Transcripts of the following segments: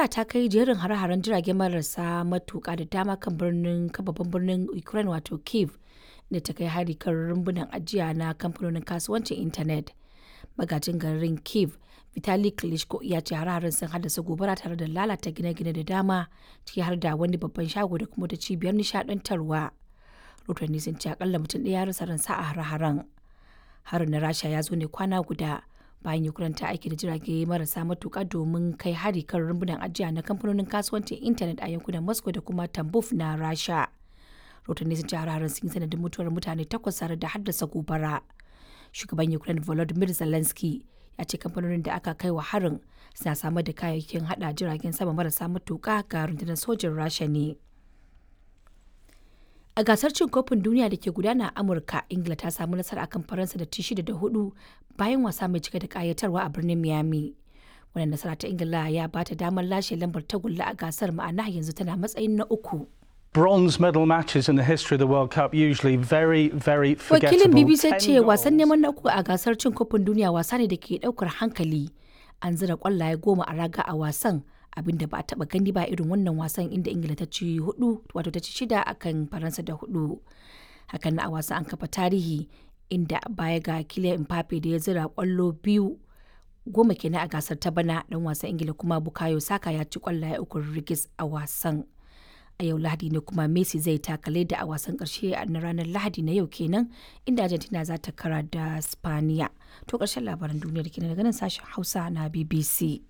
Rasha ta kai jerin hare-haren jirage marasa matuƙa da dama kan birnin kan babban birnin Ukraine wato Kyiv, da ta kai hari kan rumbunan ajiya na kamfanonin kasuwancin intanet. Magajin garin Kyiv, Vitali Klitschko, ya ce hare-haren sun haddasa gobara tare da lalata gine-gine da dama, ciki har da wani babban shago da kuma ta cibiyar nishadantarwa. Rotanni sun ce akalla mutum ɗaya ya rasa ransa a hare-haren. Harin na Rasha ya zo ne kwana guda bayan Ukraine ta aiki da jirage marasa matuƙa domin kai hari kan rumbunan ajiya na kamfanonin kasuwancin intanet a yankunan Moscow da kuma Tambov na Rasha. Rotanni sun ce hare-haren sun yi sanadin mutuwar mutane takwas tare da haddasa gobara. Shugaban Ukraine Volodymyr Zelensky ya ce kamfanonin da aka kai wa harin suna samar da kayayyakin hada jiragen sama marasa matuƙa ga rundunar sojin Rasha ne. A gasar cin kofin duniya da ke gudana a Amurka, Ingila ta samu nasara akan Faransa da ci 6 da 4 bayan wasa mai cike da kayatarwa a birnin Miami. Wannan nasara ta Ingila ya ba ta damar lashe lambar tagulla a gasar, ma'ana yanzu tana matsayin na uku. Bronze medal matches in the history of the World Cup usually very, very Wakilin forgettable. BBC 10 ce wasan goals. neman na uku a gasar cin kofin duniya wasa ne da ke daukar hankali. An zira kwallaye 10 a raga a wasan, abinda ba a taba gani ba irin wannan wasan, inda Ingila ta ci hudu, wato ta ci shida akan Faransa da hudu. Hakan na a wasan an kafa tarihi, inda baya ga Kylian Mbappe da ya zira kwallo biyu, 10 kenan a gasar ta bana, dan wasan Ingila kuma Bukayo Saka ya ci kwallaye uku rigis a wasan. A yau Lahadi ne kuma Messi zai taka leda a wasan karshe na ranar Lahadi na yau kenan, inda Argentina za ta kara da Spaniya. To, karshen labaran duniyar kenan daga nan sashen Hausa na BBC.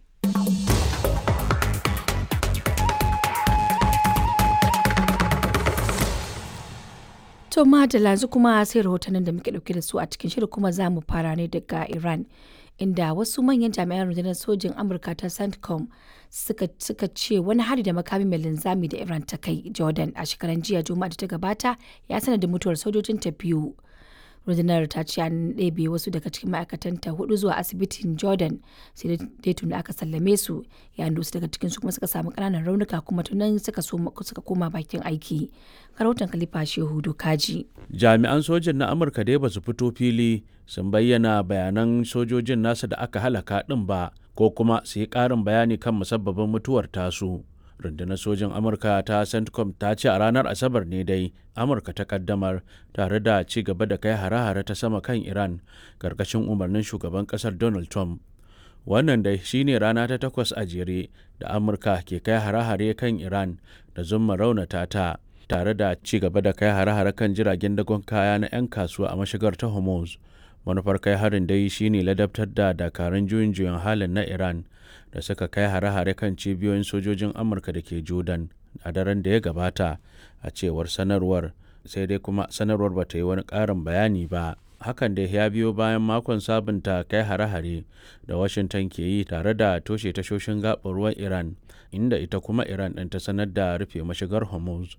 To madalla, yanzu kuma sai rahotannin da muke dauke da su a cikin shirin, kuma za mu fara ne daga Iran, inda wasu manyan jami'an rundunar sojin Amurka ta CENTCOM suka ce wani hari da makami mai linzami da Iran ta kai Jordan a shekaran jiya Juma'a da ta gabata ya sanadin mutuwar sojojin ta biyu. Rundunar ta ce an ɗebe wasu daga cikin ma'aikatanta hudu zuwa asibitin Jordan, sai dai tuni aka sallame su, yayin da wasu daga cikin su kuma suka samu ƙananan raunuka kuma tunan suka koma bakin aiki. Rahoton Khalifa Shehu Dokaji. Jami'an sojin na Amurka dai ba su fito fili sun bayyana bayanan sojojin nasa da aka halaka ɗin ba, ko kuma su yi ƙarin bayani kan musabbabin mutuwar tasu. Rundunar sojin Amurka ta CENTCOM ta ce a ranar Asabar ne dai Amurka ta kaddamar tare da ci gaba da kai hare-hare ta sama kan Iran karkashin umarnin shugaban kasar Donald Trump. Wannan dai shine rana ta takwas a jere da Amurka ke kai hare-hare kan Iran da zumma raunata ta, tare da ci gaba da kai hare-hare kan jiragen dagon kaya na 'yan kasuwa a mashigar ta Hormuz. Manufar kai harin dai shine ladabtar da dakarun juyin juyin halin na Iran da suka kai hare-hare kan cibiyoyin sojojin Amurka da ke Jordan a daren da ya gabata, a cewar sanarwar. Sai dai kuma sanarwar ba ta yi wani ƙarin bayani ba. Hakan da ya biyo bayan makon sabunta kai hare-hare da Washington ke yi tare da toshe tashoshin gaɓar ruwan Iran, inda ita kuma Iran ɗin ta sanar da rufe mashigar Hormuz.